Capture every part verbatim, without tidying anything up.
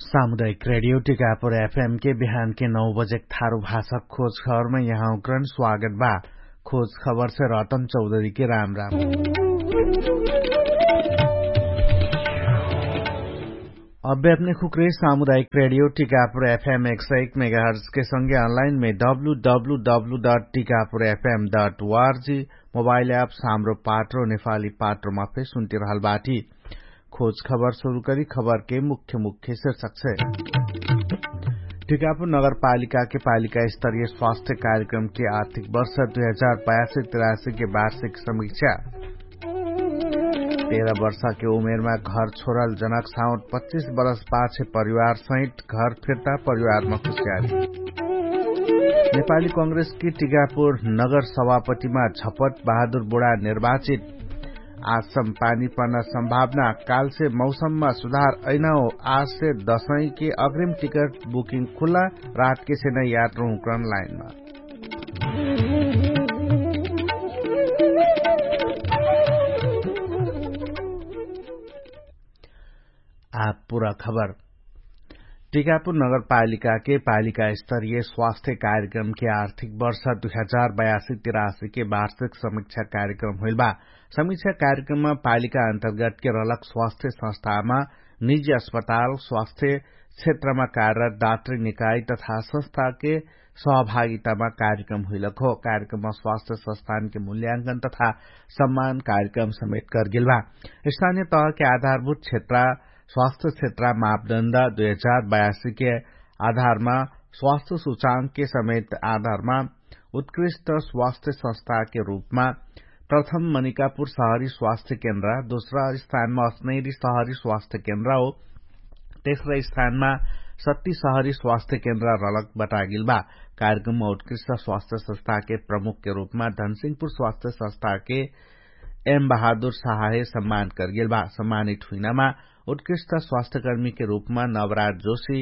सामुदायिक रेडियो टिकापुर एफएम के बिहान के नौ बजेक थारु भाषा खोज खबरमा यहाँ उक्रन स्वागत बा। खोज खबर से रतन चौधरी के राम राम। अब्बे अपने खुक्रे सामुदायिक रेडियो टिकापुर एफएम एक सय एक मेगाहर्ज के संगे अनलाइन मे W W W dot Tikapur FM dot ORG mobile app साम्रो पाट्रो नेपाली पाट्रोमा फे सुन्तिरहल बाटी। खोज खबर सुरु करी खबर के मुख्य मुख्य शीर्षक छे। टिकापुर नगरपालिका के पालिका स्तरीय स्वास्थ्य कार्यक्रम के आर्थिक वर्ष दुई हजार बयासी तिरासी के वार्षिक समीक्षा। तेह्र वर्ष के उमेरमा घर छोरल जनक साउट पच्चिस वर्ष पाछे परिवार सहित घर फिर्ता परिवारमा खुसियाली। नेपाली कांग्रेस के टिकापुर नगर सभापतिमा झपत बहादुर बुढा निर्वाचित। आजसम पानी पर्न सम्भावना कालसे मौसममा सुधार ऐनाओ। आजसे दसैँके अग्रिम टिकट बुकिङ खुल्ला। रातके सेना यात्रा हुँक्रन लाइनमा। आप पुरा खबर। टिकापुर नगरपालिकाके पालिका स्तरीय स्वास्थ्य कार्यक्रमके आर्थिक वर्ष दुई हजार बयासी तिरासीके वार्षिक समीक्षा कार्यक्रम होइल बा। समीक्षा कार्यक्रममा पालिका अन्तर्गतके रहलक स्वास्थ्य संस्थामा निजी अस्पताल स्वास्थ्य क्षेत्रमा कार्यरत डाक्टरी निकाय तथा संस्थाके सहभागितामा कार्यक्रम हुइलक हो। कार्यक्रममा स्वास्थ्य संस्थानके मूल्यांकन तथा सम्मान कार्यक्रम समेत करगेल बा। स्थानीय तहके आधारभूत क्षेत्र स्वास्थ्य क्षेत्र मापदण्ड दुई हजार बयासीके आधारमा स्वास्थ्य सुचाङके समेत आधारमा उत्कृष्ट स्वास्थ्य संस्थाके रूपमा प्रथम मनिकापुर सहरी स्वास्थ्य केन्द्र, दोस्रा स्थानमा अस्नैरी सहरी स्वास्थ्य केन्द्र हो। तेस्रा स्थानमा सत्ती सहरी स्वास्थ्य केन्द्र रलक बटागिल बा। कार्यक्रममा उत्कृष्ट स्वास्थ्य संस्थाके प्रमुखके रूपमा धनसिंहपुर स्वास्थ्य संस्थाके एम बहादुर साहाहे सम्मान करगेल बा। सम्मानित हुइनामा उत्कृष्ट स्वास्थ्यकर्मीके रूपमा नवराज जोशी,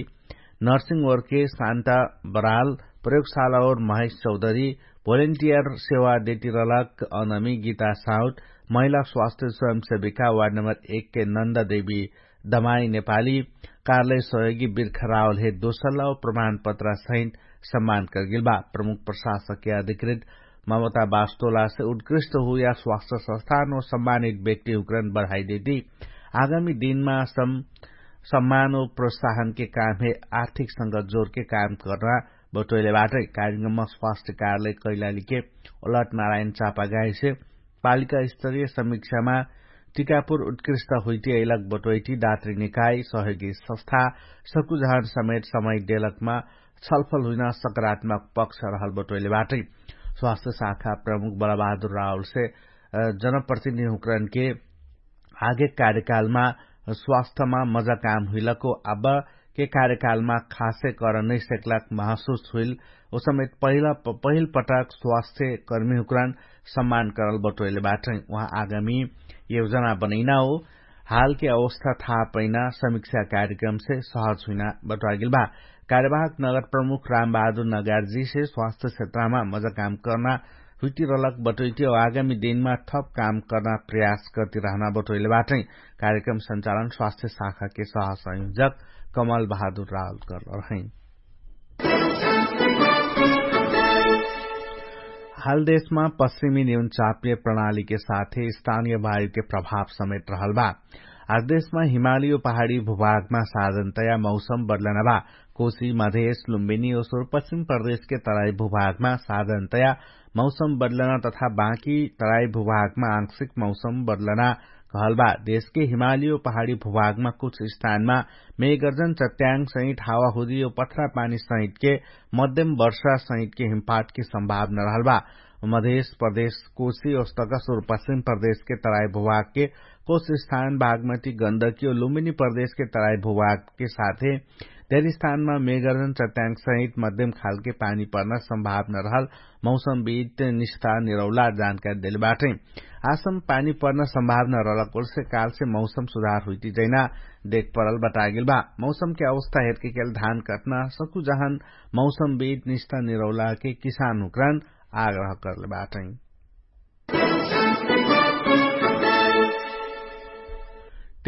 नर्सिङ ओर्के शान्ता बराल, प्रयोगशाला ओर महेश चौधरी, भोलिन्टियर सेवा देतिरलक अनमी गीता साउट, महिला स्वास्थ्य स्वयंसेविका वार्ड नम्बर एक के नन्दा देवी दमाई नेपाली, कार्यालय सहयोगी बिर्खरावलहे दोसल्ला प्रमाणपत्र सहित सम्मान करगेल बा। प्रमुख प्रशासकके अधिकृत ममता बास्तोलासे उत्कृष्ट हुया स्वास्थ्य संस्थान ओ सम्मानित व्यक्ति हुक्रन बढाइदेती। आगामी दिनमा सम्मान ओ प्रोत्साहनके कामहे आर्थिक संगत जोरके काम कर्ना बटोइले बाटै। कार्यक्रममा स्वास्थ्य कार्यालय कैलालीके अलट नारायण चापागाइसे पालिका स्तरीय समीक्षामा टिकापुर उत्कृष्ट हुइटी अइलक बटोइटी दात्री निकाय सहयोगी संस्था सकुझान समेत समय देलकमा छलफल हुइना सकारात्मक पक्ष रहल बटोइले बाटै। स्वास्थ्य शाखा प्रमुख बलबहादुर रावलसे जनप्रतिनिधि हुक्रनके आगे कार्यकालमा स्वास्थ्यमा मजा काम हुइलको अब्बके कार्यकालमा खासे कर नैसेक्लाक महसुस हुइल। उसमेत पहिल पटक स्वास्थ्य कर्मी हुक्रन सम्मान करल बटोइले बाटै। उहाँ आगामी योजना बनैना हो हालके अवस्था थाहा पैना समीक्षा कार्यक्रमसे सहज हुइना बटोइगेल बा। कार्यवाहक नगर प्रमुख रामबहादुर नगारजीसे स्वास्थ्य क्षेत्रमा मजा काम कर्ना हुइटिरलक बटोइटी आगामी दिनमा थप काम कर्ना प्रयास गर्तिरहना बटोइले बाटै। कार्यक्रम संचालन स्वास्थ्य शाखाके सहसंयोजक कमल बहादुर रावल करल रहै। हाल देशमा पश्चिमी निउन चापिय प्रणालीके साथे स्थानीय वायुके प्रभाव समेत रहल बा। आज देशमा हिमाली ओ पहाडी भूभागमा साधनतया मौसम बदलना बा। कोशी मधेश लुम्बिनी ओ सुरपश्चिम प्रदेशके तराई भूभागमा साधनतया मौसम बदलना तथा बाँकी तराई भूभागमा आंशिक मौसम बदलना कहल बा। देशके हिमाली ओ पहाडी भूभागमा कुछ स्थानमा मेगर्जन चट्याङ सहित हावाहुदी ओ पथरा पानी सहितके मध्यम वर्षा सहितके हिमपातके सम्भावना रहल बा। मधेश प्रदेश कोशी ओस्तक सुरपश्चिम प्रदेशके तराई भूभागके कुछ स्थान बागमती गन्दकी ओ लुम्बिनी प्रदेशके तराई भूभागके साथे धेर स्थानमा मेगर्जन चट्याङ सहित मध्यम खालके पानी पर्ना सम्भावना रहल मौसम बित निष्ठा निरौला जानकारी देले बाटै। आसम पानी पर्ना सम्भावना रहलक ओलसे कालसे मौसम सुधार हुइटी जैना देख परल बटागेल बा। मौसमके अवस्था हेरके केल धान कटना सकु जहन मौसम बित निष्ठा निरौलाके किसान हुक्रन आग्रह करले बाटै।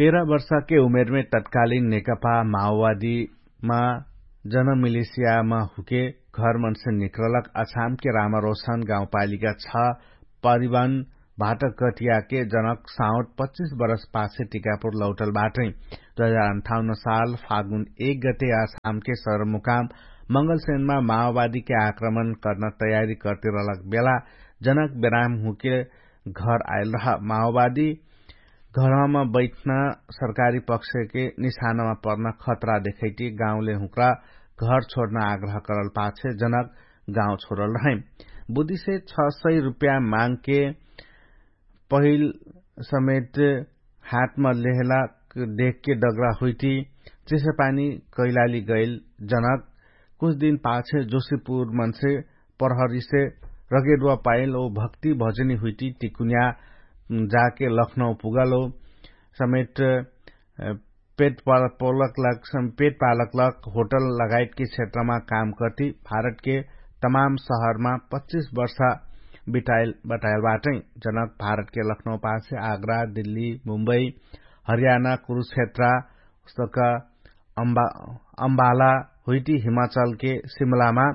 तेरह वर्षके उमेरमे तत्कालिन नेकपा माओवादीमा जनमिलिसियामा हुके घरमनसे निक्रलक अछामके रामारोसन गाउँपालिका छ परिवन भाटकटियाके जनक साउट पच्चिस वर्ष पाछे टिकापुर लौटल बाटै। दुई हजार अन्ठाउन्न साल फागुन एक गते अछामके सरमुकाम मंगलसेनमा माओवादीके आक्रमण कर्न तयारी कर्तिरलक बेला जनक बेराम हुके घर आइल रह। माओवादी घरमा बैठ्न सरकारी पक्षके निशानमा पर्न खतरा देखैटी गाउँले हुँक्रा घर छोड्न आग्रह करल पाछे जनक गाउँ छोडल रहै। बुद्धिसे छ सय रुप्या मागके पहिल समेत हातमा लेहला देखके डगरा हुइटी चिसेपानी कैलाली गैल जनक कुछ दिन पाछे जोशीपुर मनसे प्रहरीसे रगेडवा पाइल ओ भक्ति भजनी हुइटी टिकुन्या जाके लखनौ पुगल ओ समेत पेट पालक लग पेट पालक लग होटल लगायतके क्षेत्रमा काम कर्ति भारतके तमाम सहरमा पच्चिस वर्षा बिटाइल बताइल बाटै। जनक भारतके लखनौ पाछे आग्रा दिल्ली मुम्बई हरियाणा कुरुक्षेत्रा उस्तक अम्बाला हुइटी हिमाचलके सिमलामा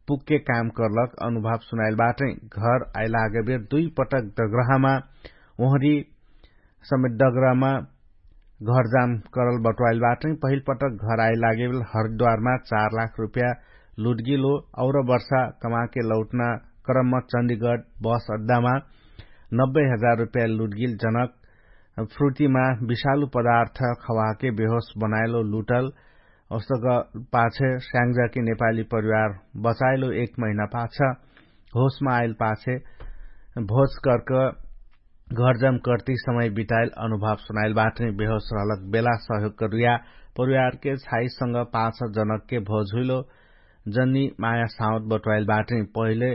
पुगके काम कर्लक अनुभव सुनाइल बाटै। घर आइलागबेर दुइ पटक डग्रहमा ओहरी समेत डग्रहमा घरजाम करल बटवाइल बाटै। पहिल पटक घर आइलागेबेर हरिद्वारमा चार लाख रुप्या लुटगिलो और वर्षा कमाके लौटना क्रममा चण्डीगढ बस अड्डामा नब्बे हजार रुप्या लुटगिल जनक फ्रुटीमा विषालु पदार्थ खवाके बेहोस बनाइलो लुटल। ओस्तक पाछे स्याङ्जाके नेपाली परिवार बचाइलो एक महिना पाछ होसमा आइल पाछे भोज कर्क घरजम कर्ति समय बिताइल अनुभव सुनाइल बाटै। बेहोस रहलक बेला सहयोगक रुया परिवारके छाइसँग पाछ जनकके भोज हुइलो। जन्नी माया साउत बटवाइल बाटै। पहिले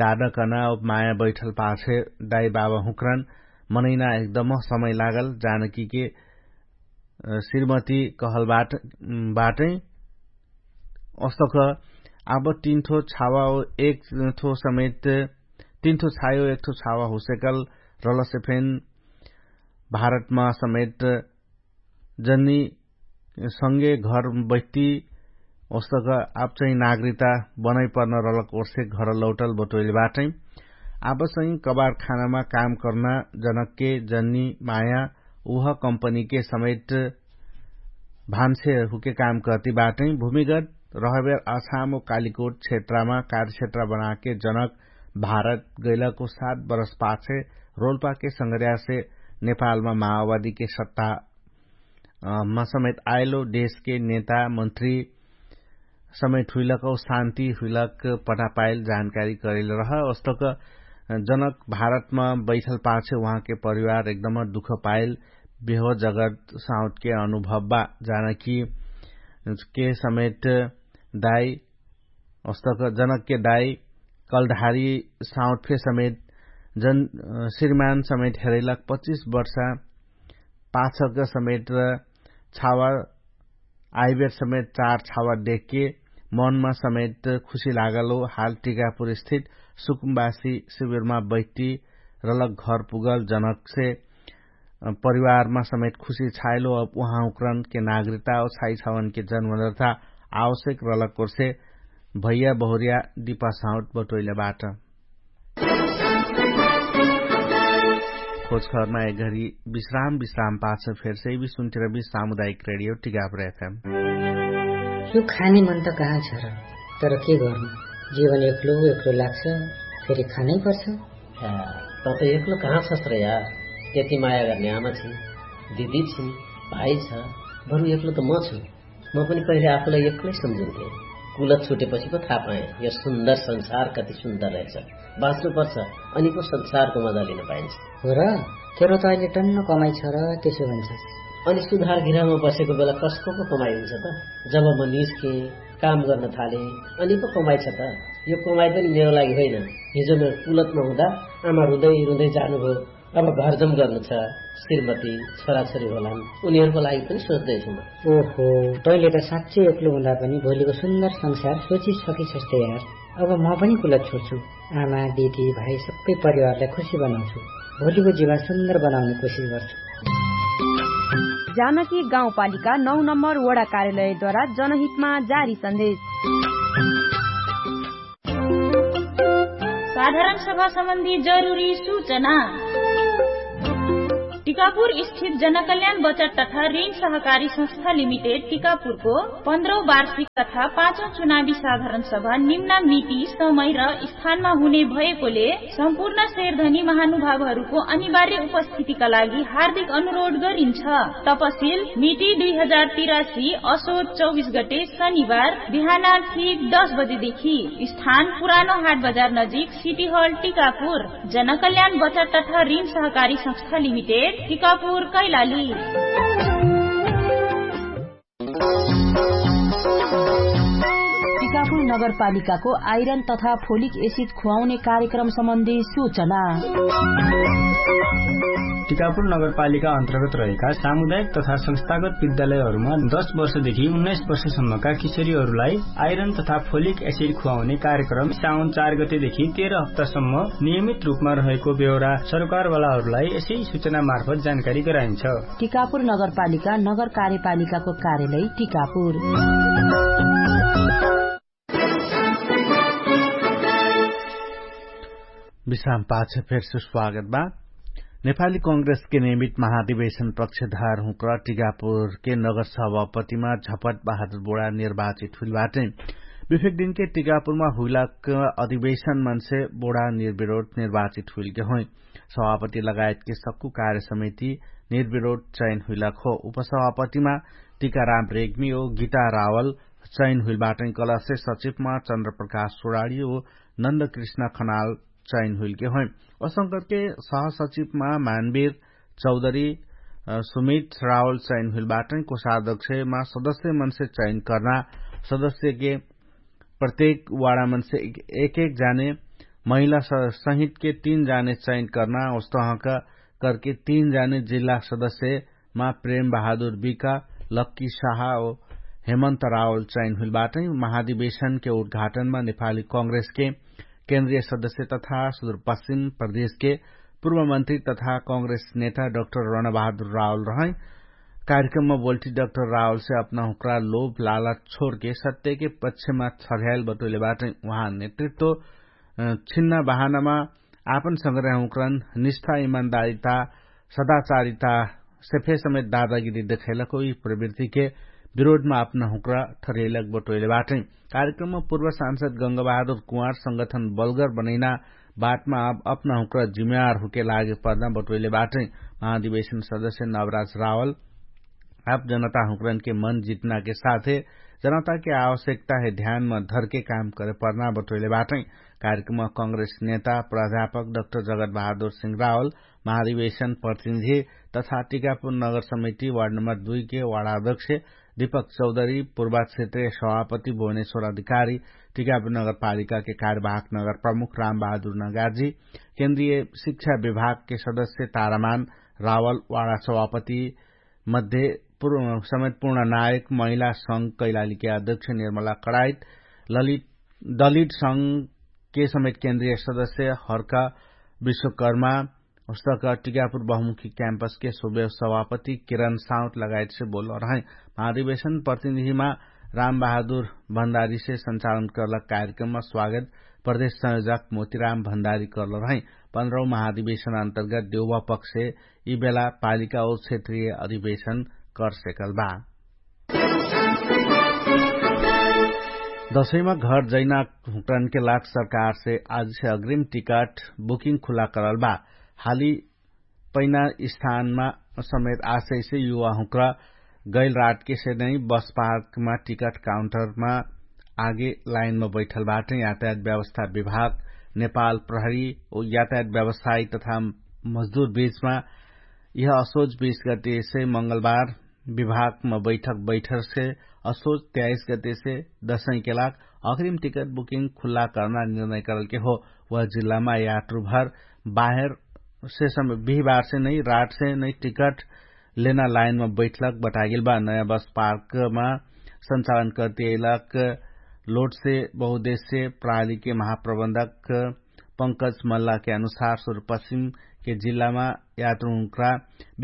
दादकना माया बैठल पाछे दाइ बाबा हुँक्रन मनैना एकदम समय लागल जानकीके श्रीमती कहल बाटै। अस्तक आब तिन्ठो छावा एक ठो समेत तिन्ठो छायो एक ठो छावा हुसेकल रलसे फेन भारतमा समेत जन्नी संगे घर बैठ्ती ओस्तक आब चाहिँ नागरिकता बनै पर्न रलक ओर्से घर लौटल बटोइल बाटै। आब चाहिँ कबार खानामा काम कर्ना जनकके जन्नी माया उह कम्पनीके समेट भान्से हुके काम कर्ति बाटै। भूमिगत रहबेर अछाम ओ कालिकोट क्षेत्रमा कार्यक्षेत्र बनाके जनक भारत गैलको सात बरस पाछे रोल्पाके संगर्यासे नेपालमा माओवादीके सत्ता मा समेत आइलो देशके नेता मन्त्री समेत हुइलक औ शान्ति हुइलक पठापाइल जानकारी करैल रह। ओस्तक जनक भारतमा बैठल पाछे उहाँके परिवार एकदम दुख पाइल बेहो जगत साउतके अनुभव बा। जानकी के समेत दाइ ओस्तक जनकके दाइ कलधारी साउत फे समेत जन श्रीमान समेत हेरैलक पच्चिस वर्षा पाछक समेत छावा आइबेर समेत चार छावा देखके मनमा समेत खुशी लागल हो। हाल टिकापुर स्थित सुकुम्बासी शिविरमा बैठ्टी रलक घर पुगल जनकसे परिवारमा समेत खुशी छाइलो। अब उहाँ उक्रनके नागरिकता औ छाइ छावनके जन्मदर्था आवश्यक रलक ओर्से भैया बहुरिया दिपा साउट बटोइले बाट। खोजखरमा एक घरी विश्राम विश्राम पाछ फेर से भी सुन्तिर भी सामुदायिक रेडियो टिगापर एफएम। यो खाने मन त कहाँ छ र? तर के गर्नु, जीवन एक्लो एक्लो लाग्छ। फेरि खानै पर्छ। त त एक्लो कहाँ छस र यार? यति माया गर्ने आमा छिन्, दिदी छिन्, भाइ छ। बरु एक्लो त म छु। म पनि पहिले आफूलाई एक्लै सम्झिन्थे। कुलत छुटेपछि पो थाहा पाएँ यो सुन्दर संसार कति सुन्दर रहेछ। बाँच्नु पर्छ अनि पो संसारको मजा लिन पाइन्छ। हो र? तेरो त अहिले टन्न कमाइ छ र त्यसो भन्छस्। अनि सुधार गृहमा बसेको बेला कसको पो कमाइ हुन्छ त? जब म निस्केँ, काम गर्न थालेँ, अनि पो कमाइ छ त? यो कमाइ पनि मेरो लागि होइन। हिजो म कुलतमा हुँदा आमा रुँदै रुँदै जानुभयो। अब घरजम गर्नु छ। श्रीमती, छोराछोरी होलान्, उनीहरूको लागि पनि सोच्दैछु म। ओहो, तैँले त साँच्चै एक्लो हुँदा पनि भोलिको सुन्दर संसार सोचिसकिसक्छौ यार। अब म पनि कुलत छोड्छु। आमा, दिदी, भाइ सबै परिवारलाई खुसी बनाउँछु। भोलिको जीवन सुन्दर बनाउने कोसिस गर्छु। जानकी गाउँपालिका नौ नम्बर वडा कार्यालयद्वारा जनहितमा जारी सन्देश। साधारण सभा सम्बन्धी जरुरी सूचना। टिकापुर स्थित जनकल्याण बचत तथा ऋण सहकारी संस्था लिमिटेड टिकापुरको पन्ध्रौ वार्षिक तथा पाँचौ चुनावी साधारण सभा निम्ना मिति समय र स्थानमा हुने भएकोले सम्पूर्ण शेरधनी महानुभावहरूको अनिवार्य उपस्थितिका लागि हार्दिक अनुरोध गरिन्छ। तपसिल मिति दुई हजार तिरासी असोज चौबिस गते शनिबार बिहान ठीक दस बजेदेखि। स्थान पुरानो हाट बजार नजिक सिटी हल टिकापुर। जनकल्याण बचत तथा ऋण सहकारी संस्था लिमिटेड टिकापुर कैलाली। टिकापुर नगरपालिकाको आइरन तथा फोलिक एसिड खुवाउने कार्यक्रम सम्बन्धी सूचना। टिकापुर नगरपालिका अन्तर्गत रहेका सामुदायिक तथा संस्थागत विद्यालयहरूमा दस वर्षदेखि उन्नाइस वर्षसम्मका किशोरीहरूलाई आइरन तथा फोलिक एसिड खुवाउने कार्यक्रम साउन चार गतेदेखि तेह्र हप्तासम्म नियमित रूपमा रहेको बेहोरा सरकारवालाहरूलाई यसै सूचना मार्फत जानकारी गराइन्छ। टिकापुर नगरपालिका नगर कार्यपालिकाको कार्यालय टिकापुर। विश्राम पाछ फेर सुस्वागत बा। नेपाली कांग्रेस के नियमित महाधिवेशन पक्षधार हुँक्र टिकापुर के नगर सभापतिमा झपट बहादुर बोडा निर्वाचित हुइल बाटे। विफेक दिन के टिकापुरमा हुइलाक अधिवेशन मनसे बोडा निर्विरोध निर्वाचित हुइल के होइ। सभापति लगायत के सक्कु कार्य समिति निर्विरोध चयन हुइलाक हो। उपसभापतिमा टिकाराम रेग्मी ओ गीता रावल चयन हुइल बाटै कलसे सचिवमा चन्द्रप्रकाश सोडाडी ओ नन्दकृष्ण खनाल चयन हुइल के होइ। असंकट के सहसचिवमा मानवीर चौधरी सुमित रावल चयन हुइल बाटै कोषाध्यक्षमा सदस्य मनसे चयन कर्ना सदस्य के प्रत्येक वाडा मनसे एक एक जाने महिला सहित के तीन जाने चयन कर्ना उस्तहका करके तीन जाने जिल्ला सदस्य मा प्रेम बहादुर बिका लक्की साहा ओ हेमन्त रावल चयन हुइल बाटै। महाधिवेशन के उद्घाटनमा नेपाली कांग्रेस के केन्द्रीय सदस्य तथा सुदूरपश्चिम प्रदेश के पूर्वमन्त्री तथा कांग्रेस नेता डाक्टर रणबहादुर रावल रहै। कार्यक्रममा बोल्टी डाक्टर रावल से अपना हुक्रा लोभ लाला छोरके सत्य के पक्षमा छर्याइल बटोइले बाटै। उहाँ नेतृत्व छिन्ना बहानामा आपन संग्रह हुक्रन निष्ठा इमान्दारिता सदाचारिता सेफे समेत दादागिरी देखैलक होइ प्रवृत्तिके विरोधमा आपना हुक्रा ठरेलक बटोइले बाटै। कार्यक्रममा पूर्व सांसद गंगबहादुर कुवार संगठन बलगर बनैना बाटमा अपना हुक्रा जिम्मेवार हुके लागे पर्दा बटोइले बाटै। महाधिवेशन सदस्य नवराज रावल आप जनता हुक्रन के मन जितना के साथे जनता के आवश्यकता है ध्यानमा धरके काम करे पर्ना बटोइले बाटै। कार्यक्रममा कांग्रेस नेता प्राध्यापक डाक्टर जगत बहादुर सिंह रावल महाधिवेशन प्रतिनिधि तथा टिकापुर नगर समिति वार्ड नम्बर दुई के वार्डाध्यक्ष दीपक चौधरी पूर्वा क्षेत्रीय सभापति भुवनेश्वर अधिकारी टिकापुर नगरपालिका के कार्यवाहक नगर प्रमुख राम बहादुर नगार्जी केन्द्रीय शिक्षा विभाग के सदस्य तारामान रावल वार्डा सभापति मध्ये समेत पूर्ण नायक महिला संघ कैलाली के अध्यक्ष निर्मला कडाइत ललित दलित संघ के समेत केन्द्रीय सदस्य हर्का विश्वकर्मा उस्तक टिकापुर बहुमुखी क्याम्पस के सुबेव सभापति किरण साउत लगायत से बोल रहै। महाधिवेशन प्रतिनिधिमा राम बहादुर भण्डारी से संचालन कर्ला कार्यक्रममा स्वागत प्रदेश संयोजक मोतिराम भण्डारी कर्ल रहै। पन्ध्रौ महाधिवेशन अन्तर्गत देउवा पक्ष यि बेला पालिका ओ क्षेत्रीय अधिवेशन कर सेकल बा। दसैमा घर जैना हुक्रन के लाग सरकार से आज से अग्रिम टिकट बुकिङ खुला करल बा। हाली पैना स्थानमा समेत आशय से युवा हुक्रा गैल रात के से नै बस पार्कमा टिकट काउन्टरमा आगे लाइनमा बैठल बाटै। यातायात व्यवस्था विभाग नेपाल प्रहरी यातायात व्यवसायी तथा मजदुर बीचमा यह असोज बीस गते से मंगलबार विभागमा बैठक बैठर से असोज त्याइस गते से दसैं के लाग अग्रिम टिकट बुकिङ खुल्ला कर्ना निर्णय करल के हो। वह जिल्लामा यात्रुभर बाहेर से समय बिहिबार से नै राट से नै टिकट लेना लाइनमा बैठलक बटागेल बा। नयाँ बस पार्कमा संचालन करते अइलक लोट से बहुदेश्य प्रणाली के महाप्रबन्धक पंकज मल्ला के अनुसार सुरु पश्चिम के जिल्लामा यात्रुहुँक्रा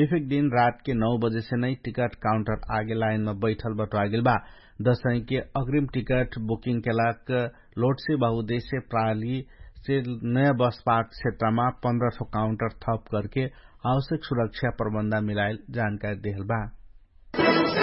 बिफेक दिन रातके नौ बजेसे नै टिकट काउन्टर आगे लाइनमा बैठल बटोआगेल बा। दसैँके अग्रिम टिकट बुकिङ केलाक लोटसे बहुदेश्य प्रालीसे नयाँ बसपाक क्षेत्रमा पन्ध्र ठो काउन्टर थप करके आवश्यक सुरक्षा प्रबन्ध मिलाइल जानकारी देहल बा।